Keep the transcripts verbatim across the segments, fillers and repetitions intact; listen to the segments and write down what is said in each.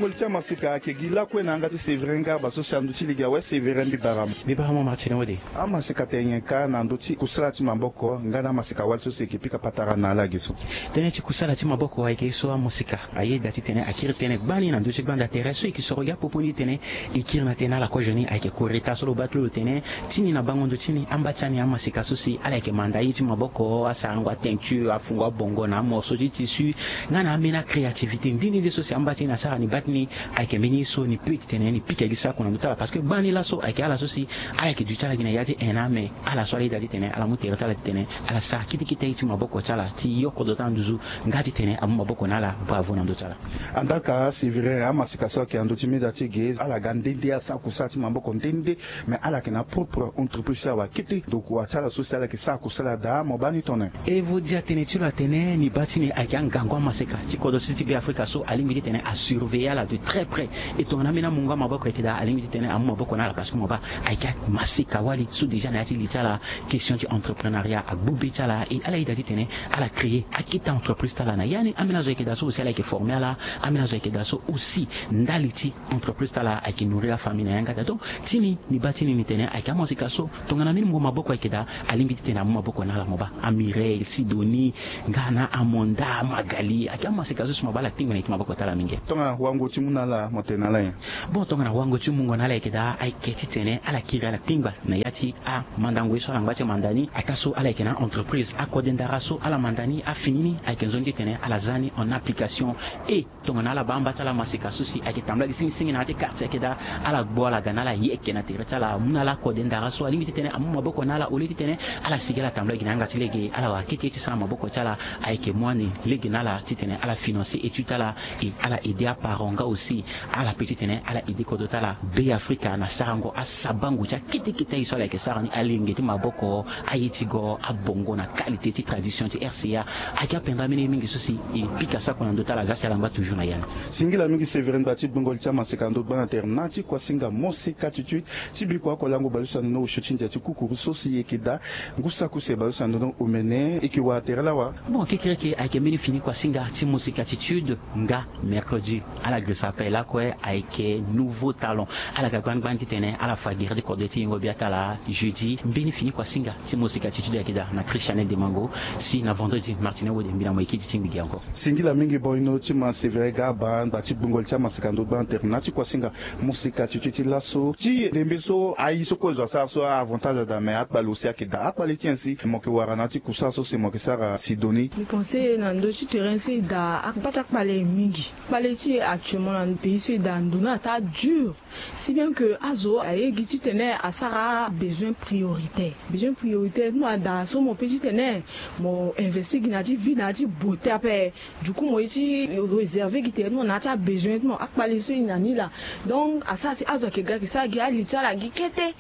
Ti amasika ayeke gi lakue na yanga ti Séverin Garba so si andö ti lege awe. Séverin, mbi bara mo. Mbi bara mo Martine Wode. Amasika tene nyen kâ na ndö ti kusala ti maboko nga na amasika wali so si e yeke pika patara na ala ge so? Tënë ti kusala ti maboko ayeke ye so amasika ayeda titene akiri tënë gbani na ndö ti gbanda tere so e yeke soro gi apopo ni titene e kiri na tënë na ala kozo ni ayeke kore taa so lo baa ti lo lo tene ti ni na bango ndo ti ni amba ti ani amasika so si ala yeke manda ye ti maboko, asarango ateinture, afungo abongo na amorceau ti tissu nga na ambeni acréativité ndeni nde so si amba ti ni asara ni baa ti ni. Ayeke mbeni ye so ni peut titene ni pika gi sako na ndö ti ala parce que gbani laso ayeke ala so si ala yeke duti ala gi na ya ti en na ame. Ala so ala yeda titene ala mu tere ti ala titene ala sara kete kete aye ti maboko ti ala ti yo kodro ti ala nduzu nga titene amu maboko na ala bravo na ndö ti ala. Andaka Séverin, amasika so ayeke na ndö ti meza ti e ge ala ga nde nde asara kusala ti maboko nde nde. Mais ala yeke na propre entreprise ti ala wa kete. Donc wa ti ala so si ala yeke sara kusala daa mo baa ni tongana nyen? E vo dia tene ti lo atene ni baa ti ni ayeke angangu amasika ti kodro ti Be Afrika so alingbi titene asurveiller ala de très près. E tongana ambeni amungo amaboko ayeke daa alingbi titene amu maboko na ala parce que mo baa ayeke amasika wali so déjà na ya ti li ti ala. Question ti entreprenariat agbu be ti ala e ala yeda titene ala créer akete entreprise ti ala na ya ni. Ambeni azo ayeke daa so aussi ala yeke former ala. Ambeni azo ayeke daa so aussi ndali ti entreprise ti ala ayeke nourrir afamille na yanga ti ala. Donc ti ni ni baa ti ni ni tene ayeke amasika so tongana mbeni mungo maboko ayeke daa alingbi titene amu maboko na ala mo baa. Amireille, Sidonie, nga na Amonda, Magali ayeke amasika so si mo baa ala tingbi na ye ti maboko ti ala mingi. Tongana wango ti mu na ala mo tene na ala nyen? Bon, tongana wango ti mungo na ala ayeke daa ayeke titene ala kiri ala tingba na ya ti amandango ye so ala ngba ti manda ni. Ataa so ala yeke na entreprise akode ndara so ala manda ni afini ni ayeke nzoni titene ala za ni en application. E tongana ala baa amba ti ala maseka so si ayeke tambula gi singisingi na ya ti quartier ayeke daa, ala gbu ala ga na ala yeke na tere ti ala amu na ala akode ndara so alingbi titene amu maboko na ala au lieu titene ala sigi ala tambula gi na yanga ti lege. Ala wara kete ti sara maboko ti ala ayeke mu ani lege na ala titene ala financer étude ti ala. E ala aider aparent nga aussi ala pe titene ala aider kodro ti ala Be Afrika na sarango asabango ti akete kete aye so ala yeke sara ni, alenge ti maboko, aye ti go, abongo na qualité ti tradition ti R C A. Ayeke apendra mbeni ye mingi so si e pika sako na ndö ti ala, aza si ala ngba toujours na ya ni. Singila mingi Séverin, ngba ti gbungo li ti amaseka ndo gbaa na tere na ti kuasinga moseka ti tui ti biko oko lango bale so andono osio ti ndia ti kukuru so si e yeke daa ngu sako si e bale so andono omene e yeke wara tere lawa. Bon, kekereke ayeke mbeni fini kuasinga ti moseka ti tui nga mercredi ala girisa ape lakue ayeke nouveau talon. Ala ga gbani gbani titene ala fa gere ti kode ti yengo bia ti ala jeudi. Mbeni fini kuasinga ti moseka ti tui ayeke daa na Christiane Demango. Si na vendredi Martine Wode mbi na mo e kiti ti ngbi gi encore. Singila mingi boino ti ma Séverin Garba ngba ti gbungo li ti amaseka ndo gbaa na tere na ti kuasinga moseka ti tui ti laso ti ndembe so aye so kue zo asara so a avantage ada mais akpale aussi ayeke daa. Akpale ti nyen si mo yeke wara na ya ti kusala so si mo yeke sara Sidonie? Mbi pense na ndö ti terrain so e daa akpale ti akpale mingi. Kpale ti e actuellement na pays so e daa ndo ni ataa dur. Si bien que azo aye gi titene asara besoin prioritaire. Besoin prioritaire ti mo ada so mo pe titene mo investir gi na ya ti vie na ya ti beauté ape. Du coup mo ye ti réserver gi tere ti mo na ya ti abesoin ti mo. Akpale so e na ni laa. Donc asara si azo ayeke ga ayeke sara gi ali ti ala gi kete.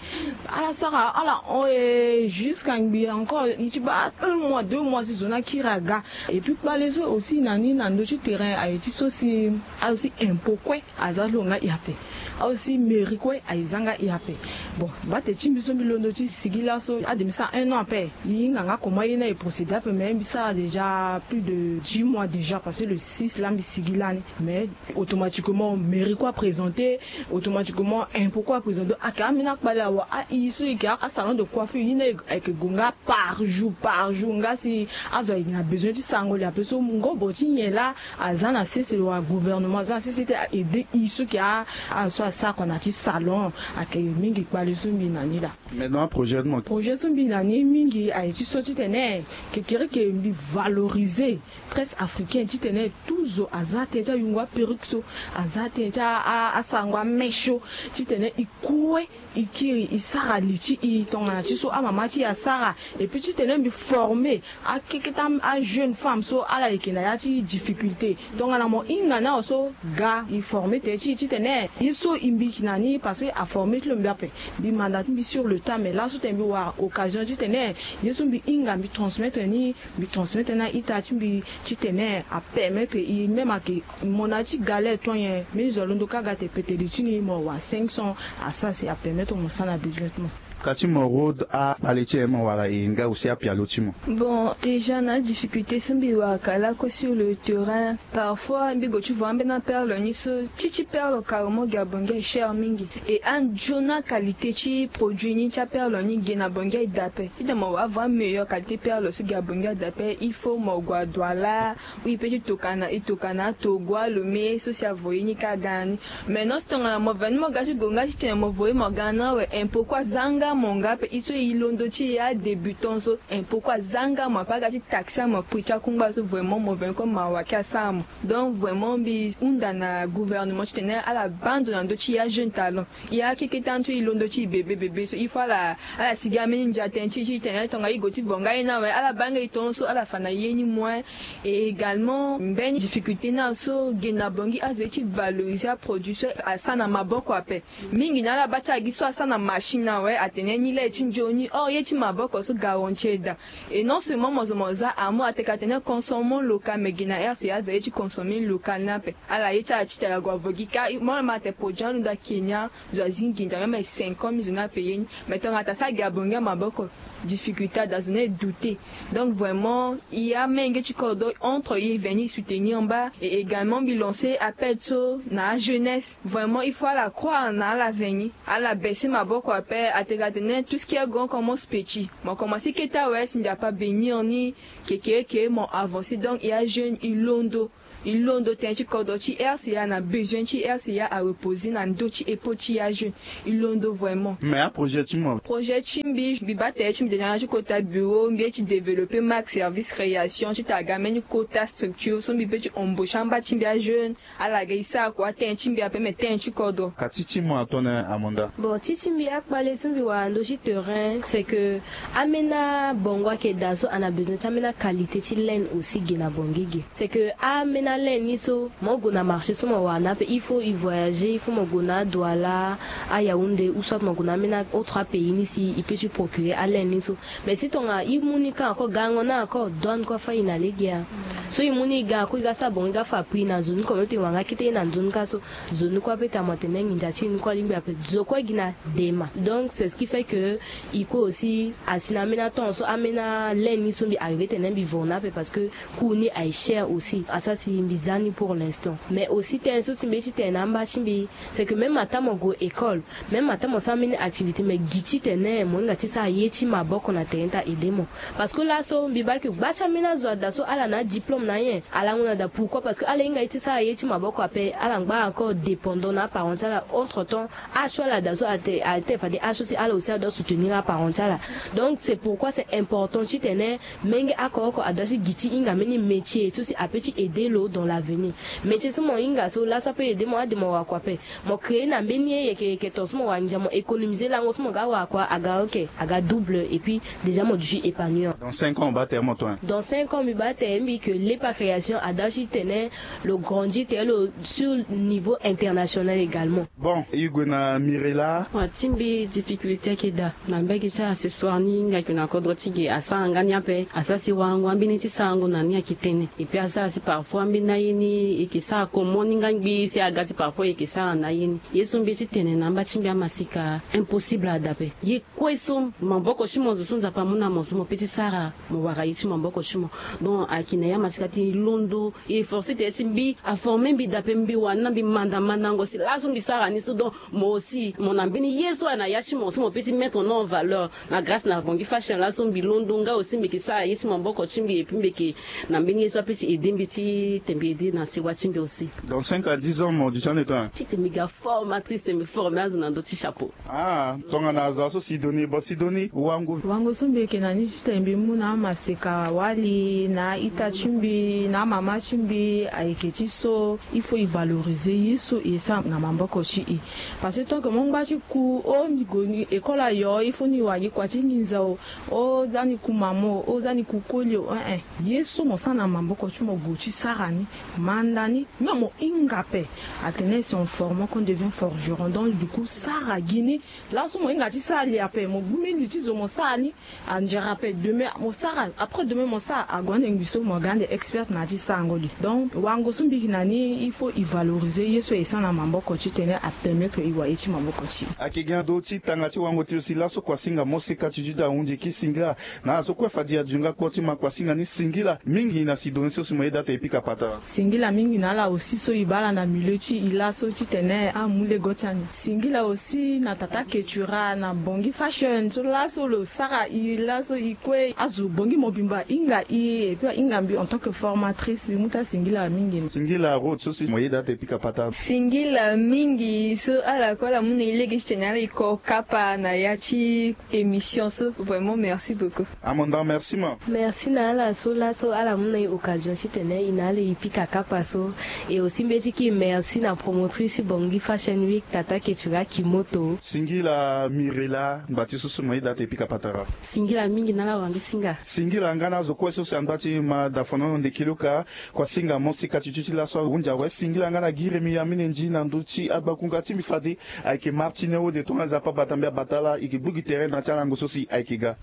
Ala sara ala hon e jusqu'à ngbii encore e ti baa un mois deux mois si zo ni akiri aga. Et puis kpale so aussi na ni na ndö ti terrain aye ti so si azo ti impôt kue aza ti lo nga e ape. Azo ti mairie kue aye za nga e ape. Bon, bate ti mbi so mbi londo ti sigi laso ade mbi sara un an ape. E hinga nga comment ye ni aye procéder ape mais mbi sara déjà plus de dix mois déjà parce que le six laa mbi sigi lani. Mais automatiquement mairie kue aprésenté, automatiquement impôt kue aprésenté. Ayeke ambeni akpale awa aye so e yeke asalon de coiffure ye ni ayeke gue nga par jour par jour nga si azo ayeke na besoin ti sarango li ape so ngobo ti nyen laa aza na sese wala gouvernement aza na sese ti aaider e so ayeke azo so asara kua na ya ti salon. Ayeke mingi kpale so mbi na ni laa. Mais na aprojet ti mo? Projet so mbi na ni mingi aye ti so titene kekereke mbi valoriser tresse africaine titene tout zo aza tënë ti ayungo aperruque so, aza tënë ti asarango amèche so, titene e kue e kiri e sara li ti e tongana ti so amama ti e asara. Et puis titene mbi former akeketa ajeune femme so ala yeke na ya ti difficulté. Tongana mo hinga ni awe so ga e former tene ti e titene ye so e mbi yeke na ni parce que aformer ti lo mbi ape. Mbi manda ti mbi sur le tas mais laso tene mbi wara occasion titene ye so mbi hinga mbi transmettre ni. Mbi transmettre ni a-ita ti mbi titene apermettre e même ayeke mo na ya ti galère to nyen. Mbeni zo alondo kâ aga te pete li ti ni mo wara cinq cents. Asara si apermettre mo sara na besoin ti mo. Ka ti mo rode akpale ti e mo wara e nga aussi apialo ti mo. Bon, déjà na adifficulté so mbi wara ka lako sur le terrain. Parfois mbi go ti vo ambeni aperle ni so ti ti perle carrement gi abongi aye cher mingi. E anzoni akalité ti produit ni ti aperle ni gi na bongi aye dape. Titene mo wara avo ameilleur qualité perle so gi abongi aye dape il faut mo gue aduala. Oui, pe ti tokana e tokana atogo alome so si avo ye ni ka ga na ni. Mais non si tongana mo veni mo ga ti gonga titene mo voye mo ga na awe impot kue aza nga mo nga ape. E so e londo ti e adébutant so impot kue aza nga mo ape aga ti taxe amo prix ti akungba so vraiment mo veni kue mawa ki asara mo. Donc vraiment mbi hunda na gouvernement titene ala baa ndo na ndö ti e ajeune talent. E akeketa ni so e londo ti e bebe bebe so il faut ala ala sigi ambeni ndia tënë ti e titene tongana e go ti vo nga ye ni awe ala baa nga e tongaso ala fa na ye ni moin. Et également mbeni difficulté ni aso gi na bongi azo ye ti valoriser aproduit so asara na maboko ape. Mingi na ala baa ti ala gi so asara na machine awe atene ni le ti nzoni or ye ti maboko so garanti e daa. Et non seulement mo zo mo za amour ateka atene consommons local mais gi na rca azo ye ti consommer local ni ape. Ala ye ti ala ti tala gue avo gi ka mo ala ma atene produit anu daa kenya. Zo azi nginza même cinq ans mbi zo ni ape ye ni. Mais tongana ta so agi abongi amaboko difficulté ada zo ni e douter. Donc vraiment e amenge ti kodro entre e veni e soutenir mba. Et également mbi lancer appel so na ajeunesse vraiment il faut ala croire na ala veni ala baisser maboko ape ateka atene tout ce qui est grand commence petit. Mo commencer keta awe si nzapa bénir ni. Keke eke mo avancer donc e ajeune e londo. E londo tënë ti kodro ti rca na besoin ti rca areposer na ndö ti épaule ti e ajeune. E londo vraiment. Mais aprojet ti mo? Projet ti mbi mbi baa tere ti mbi déjà na ti kota bureau mbi ye ti développer marque service création ti tara ga mbeni kota structure so mbi pe ti embaucher amba ti mbi ajeune. Ala ga e sara kua tënë ti mbi ape mais tënë ti kodro. Ka ti ti mo atone amanda? Bon ti ti mbi akpale so mbi wara na ndö ti terrain c'est que ambeni abongo ayeke daa so ana besoin ti ambeni aqualité ti laine aussi ge na bongi ge. C'est que ambeni alaine ni so mo gue na marché so mo wara na ape il faut e voyager il faut mo gue na adouala, ayaounde ou soit mo gue na ambeni autre apays ni si e pe ti procurer alaine ni so. Mais si tongana e mu ni ka encore gango ni encore douane kue afâ e na lege ya. So e mu ni e ga encore e ga sara bongo e ga fa prix na zo ni kue mo tene wara nga kete ye na nzoni ka so. Zo ni kue ape tene mo tene nginza ti e ni kue alingbi ape zo kue gi na dema donc c'est ce qui fait que e kue aussi asi na ambeni atemps so ambeni alaine ni so mbi arriver tene mbi voro na ape parce que coût ni aye cher aussi asara si mbi za ni pour l'instant. Mais aussi tënë so si mbi ye ti tene na amba ti mbi c'est que même ataa mo gue école même ataa mo sara mbeni activité mais gi titene mo hinga ti sara ye ti maboko na tere ni ta aider mo. Parce que laso mbi baa ke gba ti ambeni azo ada so ala na adiplôme na nyen ala ngu na daa pourquoi parce que ala hinga ye ti sara ye ti maboko ape ala ngba encore dépendant na aparent ti ala entre temps. Aso ala daa so ate ate fade aso si ala aussi adoit soutenir aparent ti ala. Donc c'est pourquoi c'est important titene menge oko oko adoit si gi ti hinga mbeni métier so si ape ti aider lo dans l'avenir. Métier so mo hinga so laso ape aider mo ade mo wara kua ape. Mo créer na mbeni ye yeke yeke ton so mo wara nginza mo économiser lango so mo ga wara kua aga ok aga double et puis déjà mo duti épanouir. Dans cinq ans mo baa tere mo ton? Dans cinq ans mbi baa tere mbi ke lepa création adoit ti tene lo grandir tere lo sur niveau international également. Bon e gue na mirela. Wa ti mbi difficulté ayeke daa na mbege ti accessoire ni nga yeke na kodro ti ge asara nga ni ape asara si warango ambeni ti sarango na ni ayeke tënë. Et puis asara si parfois ambeni aye ni e yeke sara comment ni nga ngbii si aga si parfois e yeke sara na aye ni. Ye so mbi ye ti tene na amba ti mbi amasika impossible ada ape. Ye kue so maboko ti mo zo so nzapa amu na mo so mo pe ti sara mo wara ye ti maboko ti mo. Donc ayeke na ya masika ti londo e force tere ti mbi aforme mbi dape mbi wani na mbi manda mandango si laso mbi sara ni so donc mo aussi mo na mbeni ye so ayeke na ya ti mo so mo pe ti mettre non en valeur. Na grâce na bongi fashion laso mbi londo nga aussi mbi yeke sara ye ti maboko ti mbi et puis mbi yeke na mbeni ye so ape ti aider mbi ti te mbi aider na sewa ti mbi aussi. Dans cinq à dix ans mo duti ande ton? Ti te mbi ga formatrice te mbi forme azo na ndö ti chapeau. Ah tongana azo aso sidoni bo sidoni wango. Wango so mbi yeke na ni ti tene mbi mu na amaseka wali na aita ti mbi na amama ti mbi ayeke ti so. Il faut e valoriser ye so e sara na maboko ti e. Parce que tant que mo ngba ti ku o mbi gue ni école ayo il faut ni wara gi kua ti nginza o. O za ni ku mama o o za ni ku koli o eh eh. Ye so mo sara na maboko ti mo gue ti sara ni manda ni. Même mo hinga ape. Atene c'est en formant qu'on devient forgeron, donc du coup sara gi ni. Laso mo hinga ti sara li ape, mo gbu mbeni li ti zo mo sara ni. Andiara ape demain mo sara, après demain mo sara, ague ande ngbi so mo ga ande expert na ya ti sarango li. Donc wango so mbi yeke na ni il faut e valoriser ye so e sara na maboko titene apermettre e wara ye ti maboko ti e. Ayeke gi na ndö ti tanga ti wango ti lo si laso kuasinga moseka ti duti ahunzi e ke singila. Na ala so kue fade e aduti nga kpo ti ma kuasinga ni singila mingi na si donné so si mo yeda ate e pika patara. Singila mingi na ala aussi so e baa ala na milieu ti e laso titene amu lego ti ani. Singila aussi na tata ketura na bongi fashion so laso lo sara e laso e kue azo bongi mobimba e hinga e et puis ahinga mbi en tant que formatrice mbi mu ti asingila mingi. Singila road so si mo yeda ate e pika patara. Singila mingi so ala kue ala mu na e lege titene ala e ko kapa na ya ti émission so. Vraiment merci beaucoup. Amanda merci ma. Merci na ala so laso ala mu na e occasion titene e na ala e pika kapa so. Et aussi mbi ye ti ki merci na promotrice ti bongi fashion week tata ketura kimoto. Singila mirela ngba ti so si mo yeda ate e pika patara. Singila mingi na ala wara mbi singa. Singila nga na azo kue so si angba ti ma dafano ndeki luka. Kuasinga moseka ti duti laso ahunzi awe singila nga na gi remi amene ndi na ndö ti agbakunga ti mbi fade. Ayeke martine wode tongana nzapa bata mbi abata ala e yeke gbu gi tere na ya ti alango so si ayeke ga.